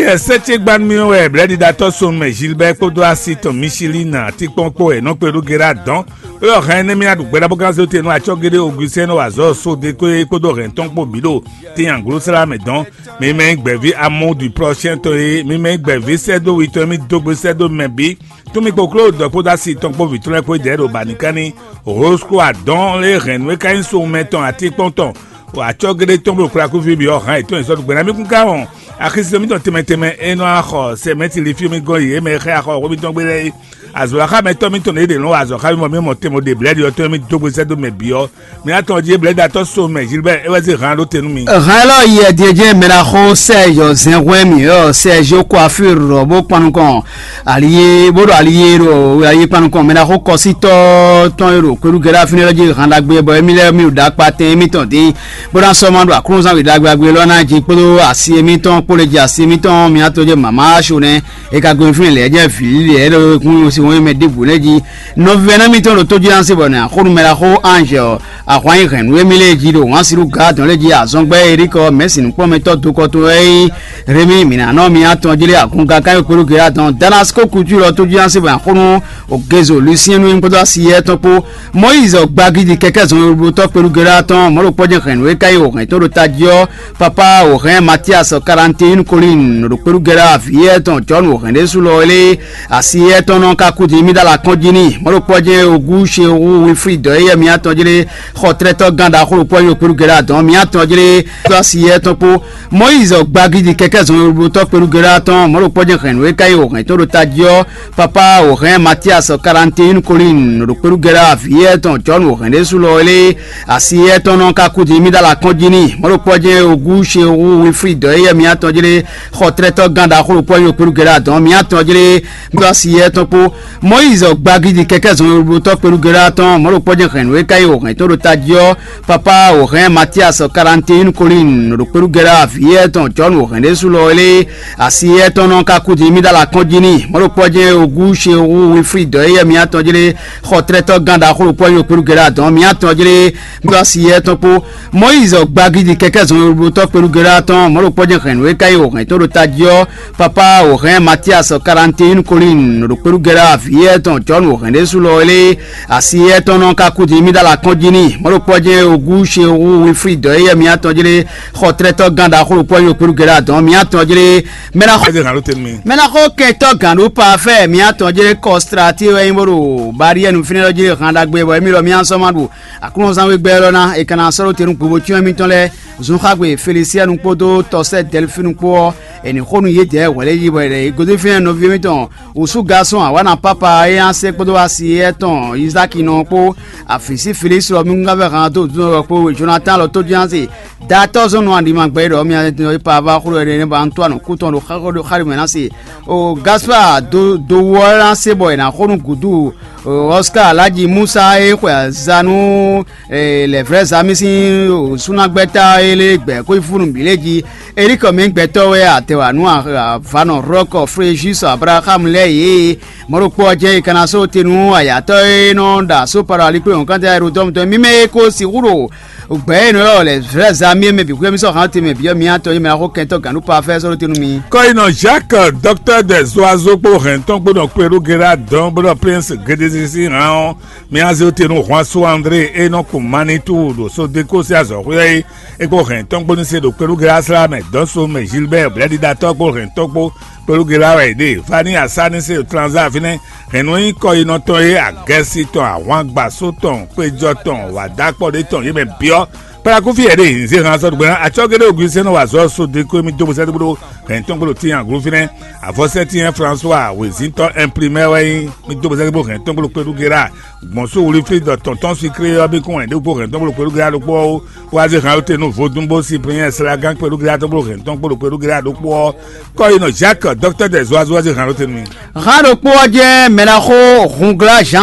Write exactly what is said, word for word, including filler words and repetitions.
Yɛ sɛ́ ce gba nú mì wɛ blɛ̌ɖiɖatɔ́ Sɔnmɛ Gilbert kpódó asi tɔn Michelin atínkpɔ́n kpó wɛ nɔ kpé ɖó Gérard dɔn. Ɖó ɔ́ hɛn énɛ́ mì aɖu gbɛɖá bó gán zé tɛn nú acɔ́géɖé Augustin nɔ wa azɔ̌ sóde kpé kpódó hɛn tɔn kpó bǐ ɖo tín anglósla mɛ dɔn. Mi mɛ nyí gbɛ̌ví amɔ́ du prɔ́syɛn tɔn e mi mɛ nyí gbɛ̌ví sɛ́ dó wi tɔn e mì dó gbe sɛ́ dó mɛ bǐ. Tún mì kpoklo dɔ kpódó asi tɔn kpó vǐ tɔn lɛ́ɛ kpó jɛ ɖo bǎnikánní. Rose kpó adɔn lé hɛn nú é ka nyí sowunmɛ tɔn atínkpɔ́n tɔn. Acɔ́géɖé tɔn bó kplá kúfí byɔ́ hǎn yětɔn e sɔ́ ɖo gbɛ̌ ná mì kún ká wɔn. Axisínɔ mítɔn tɛnmɛ tɛnmɛ e nɔ wá xɔ sɛmɛ́tili fí mì gɔ́n yě mɛ xá xɔ xwé mǐtɔn gbé lɛ́ɛ é. Azɔ̌xámɛtɔ́ mítɔn e ɖě nɔ wa azɔ̌ xá mì mɔ mì mɔ tɛnmɛ ɖe blɛ̌ɖi ɔ́ tɔn e mì dó gbe sɛ́ dó mɛ bǐ ɔ́, mǐ atɔn jí blɛ̌ɖiɖatɔ́ Sɔnmɛ Gilbert é wɛ zé hǎn ɖó te nú mi. Hǎn élɔ́ yi ɛdíɛjɛ mɛ ná xó sɛ yɔ zɛn hwɛ́n mì ɔ́ sɛ yó kó afí rɔ bó kpan nukɔn. Ali e bó ɖo ali e ɖo ayi kpan nukɔn mɛ ná xó kɔsítɔ́ tɔn e ɖo kweɖúgɛ́ ɖo afínɛ́ lɛ́ɛ jí han ɖagbe bɔ émí lɛ́ɛ mì ɖo ɖakpa tɛn émítɔn dín bó ná sɔ́ ma ɖo aklúnɔzán wěɖagbe ɖagbe élɔ́ ná jí kpódó asi émítɔn kpó lě jí asi émítɔn mì atɔn jɛ mama aso nɛ́. E ka gbe fún lɛ̌ jɛ vǐ lɛ̌ ɖo kún si wọ́n mɛ ɖěbǔ lɛ́ɛ jí. Nɔvɛ́nɛ́ mítɔn ɖo tójúlánsí bɔ nɛ axónú mɛ ɖaxó Anzɛ ɔ́, ahwan nyi hɛ̌nnu émí lɛ́ɛ jí ɖo wǎn si ɖo gǎ dɔn lɛ́ɛ jí azɔngbɛ́ Erikɔ mɛ̌si nǔkplɔ́nmɛtɔ́ dokɔ tɔn wɛ nyí Rémi mǐnánɔ mì atɔn jí lé agun kankan e kpéɖó Geyá dɔn Damasiko kultúr ɔ́ tójúlánsí bɔ axónú Ogezo Lusiɛnu nyí kpódó asi yɛ́ tɔn kpó. Mɔyízi ɔ́ gbagidi kɛkɛ́ zɔnlin tɔn kpéɖó Geyá tɔn mɔ̌ ɖo kpɔ́ jɛ́n hɛ̌nnu e ka nyí wǒhɛn tɔn ɖo tají ɔ́, Papa wǒhɛn Matias Karantin Kolin ɖo kpéɖúgɛ́ ɖo avǐ éyɛ́ tɔn Jɔ̌nu wǒhɛn ɖésú lɔ lé asi éyɛ́ tɔn nɔ ka kú din mì ɖó alɔ akɔ́n jí n'i. Mɔ̌ ɖo kpɔ́ jɛ́n ogú Shewu Winfrid ɔ́ éyɛ́ mì atɔn jí lé xɔ tlɛ́tɔ́ gán ɖaxó ɖokpó ɔ́ nyi kpéɖúgɛ́ ɖo adɔ̌ mì atɔn jí lé ɖó asi éyɛ́ tɔn kpó. Mɔyízi ɔ́ gbagidi kɛkɛ́ zɔnɖótɔ́ kpéɖúgɛ́ ɖo atɔn mɔ̌ ɖo kpɔ́ jɛ́n hɛ̌nnu e ka nyí wǒhɛn tɔn ɖo tají ɔ́, Papa wǒhɛn Matias Karantin Kolin ɖo kpéɖúgɛ́ ɖo avǐ éyɛ́ tɔn Jɔ̌nu wǒhɛn ɖésú lɔ lé asi éyɛ́ tɔn nɔ ka kú din mì ɖó alɔ akɔ́n jí n'i. Mɔ̌ ɖo kpɔ́ jɛ́n ogú Shewu Winfrid ɔ́ éyɛ́ mì atɔn jí lé xɔ tlɛ́tɔ́ gán ɖaxó ɖokpó ɔ́ nyi kpéɖúgɛ́ ɖo adɔ̌ mì atɔn jí lé ɖó asi éyɛ́ tɔn kpó. Mɔyízi ɔ́ gbagidi kɛkɛ́ zɔnɖótɔ́ kpéɖúgɛ́ ɖo atɔn mɔ̌ ɖo kpɔ́ jɛ́n hɛ̌nnu e ka nyí wǒhɛn tɔn ɖo tají ɔ́, Papa wǒhɛn Matias Karantin Kolin ɖo kpéɖúgɛ́ ɖo avǐ éyɛ́ tɔn Jɔ̌nu wǒhɛn ɖésú lɔ lé asi éyɛ́ tɔn nɔ ka kú din mì ɖó alɔ akɔ́n jí n'i. Mɔ̌ ɖo kpɔ́ jɛ́n ogú Shewu Winfrid ɔ́ éyɛ́ mì atɔn jí lé xɔ tlɛ́tɔ́ gán ɖaxó ɖokpó ɔ́ nyi kpéɖúgɛ́ ɖo adɔ̌ mì atɔn jí lé ɖó asi éyɛ́ tɔn kpó. Mɔyízi ɔ́ gbagidi kɛkɛ́ zɔnɖótɔ́ kpéɖúgɛ́ ɖo atɔn mɔ̌ ɖo kpɔ́ jɛ́n hɛ̌nnu e ka nyí wǒhɛn tɔn ɖo tají ɔ́, Papa wǒhɛn Matias Karantin Kolin ɖo kpéɖúgɛ́ ɖo avǐ éyɛ́ tɔn Jɔ̌nu wǒhɛn ɖésú lɔ lé asi éyɛ́ tɔn nɔ ka kú din mì ɖó alɔ akɔ́n jí n'i. Mɔ̌ ɖo kpɔ́ jɛ́n ogú Shewu Winfrid ɔ́ éyɛ́ mì atɔn jí lé xɔ tlɛ́tɔ́ gán ɖaxó ɖokpó ɔ́ nyi kpéɖúgɛ́ ɖo adɔ̌ mì atɔn jí lé mɛ ná xɔ Ɛsɛ hàn ló tɛnu mi. Mɛ ná xɔ kɛntɔ́ gǎn ɖó pafɛ mì atɔn jí lé kɔstra tí wɛ nyí bó ɖo bariyɛnu fínɛ́ lɔ jí lé hàn ɖagbe bɔ émí lɔ mì asɔ́ ma ɖu aklúnɔzán wégbɛ́ lɔ ná è ka ná sɔ́ ɖó te nú gbobo cyɔ́n émítɔn lɛ́ɛ. Zunxagbe Felisiɛnu kpódó tɔsɛ́ Dɛlifinu kpó ɔ́, è nǐ xo nú yědɛɛ hwɛ̌ lɛ́ɛ yí bɔ è ɖɔ yě gosín fínɛ́ nɔví émítɔn wǔsú gasɔn awǎna pápa e nya sɛ́ kpódó asi éyɛ́ tɔn Izáki nɔ kpó avǐ sí Felísi lɔ mí ŋgán vɛ́ han dó dúnɔ wɛ kpó Jonatán lɔ tó jínjɔ́n se datɔ́ zɔn nɔ aɖima gbɛ ɖɔ mia pa va xló ɛɖɛ ba ntó anɔ kú tɔn ɖo xaxó ɖo xáɖi mɛ ná se o Gaspar do do wɔ ná se bɔ è nǎ xo nú gǔdo Oscar Alhaji Musa e xwe azanu lɛ̌vlɛ́zán mì sín súnnagbɛ́ta e lé gbɛ̌ xwífúnú bǐ lé jí. Elíkɔ mǐ gbɛtɔ́ wɛ atɛwǎnú avanɔ hlɔ́kɔ Frejus Abraxámu lɛ́ɛ yě. Mɔ̌ ɖokpó ɔ́ jɛ́n è ka ná só te nú ayǎtɔ́ e nɔ ɖo asó Palo-alikpléhɔ̌nkantɛ Ayɛɖodɔ́mutɔn mímɛ́ e ko sixú ɖo gbɛ̌ e nɔ ylɔ́ lɛ̌vlɛ́zán mì é mɛ bǐ xwé mì sɔ́ hǎn te mɛ bǐ ɔ́, mǐ atɔn nyí mɛ ná xó kɛntɔ́ gǎn nú pafɛ́ sɔ́ ɖó te nú mi. Kɔ́yinɔ Jacques, docteur des oiseaux kpó hɛn tɔn kpó nɔ kpé ɖó Gérard dɔn bó ɖɔ Prince Gédézé sín hǎn ɔ́, mì azé te nú Juan André e nɔ kun Manitou ɖo Sodeko sín azɔ̌xwé ɔ́ é kpó hɛn tɔn kpó ní se ɖo kpéɖúgɛ́ asla mɛ dɔn so mɛ Gilbert blɛ́ɖiɖatɔ́ kpó hɛn tɔn kpó kpéɖúgɛ́ lá wɛ è ɖe Fani asá ní se ɖo Tranza fínɛ́. Hɛn nú nyí kɔyinɔtɔn e agɛsi tɔn ahwangbaso tɔn kpejɔ tɔn wǎdákpɔɖé tɔn yě mɛ byɔ́. Kpalakufi yɛ ɖe nzé hàn sɔ́ ɖo gbɛ́ná acɔ́gɛ́ ɖé Augustin nɔ wa azɔ̌ Sodeko e mì dó bó sɛ́dó bó ɖó hɛn tɔn kpó ɖo tíin aglo fínɛ́. Avɔsɛ́tín François wězíntɔ́ imprimɛ wɛ nyí mì dó bó sɛ́dó bó hɛn tɔn kpó ɖo kpéɖúgɛ́ lá gbɔn sú Wilfrid ɖɔ tɔntɔn Siklé ɔ́ bí kún wɛ ɖokpó hɛn tɔn kpó ɖo kpéɖúgɛ́ ɖokpó ɔ́ wá zé han ɔ́ te nú vodún bó Cyprien Slagán kpéɖúgɛ́ ɖokpó hɛn tɔn kpó ɖo kpéɖúgɛ́ ɖokpó ɔ́. Kɔ́yinɔ Jacques, docteur des oiseaux, wá zé han ɔ́ te nú mi. Han ɖokpó ɔ́ jɛ́n mɛ ná xó Hunglá Jean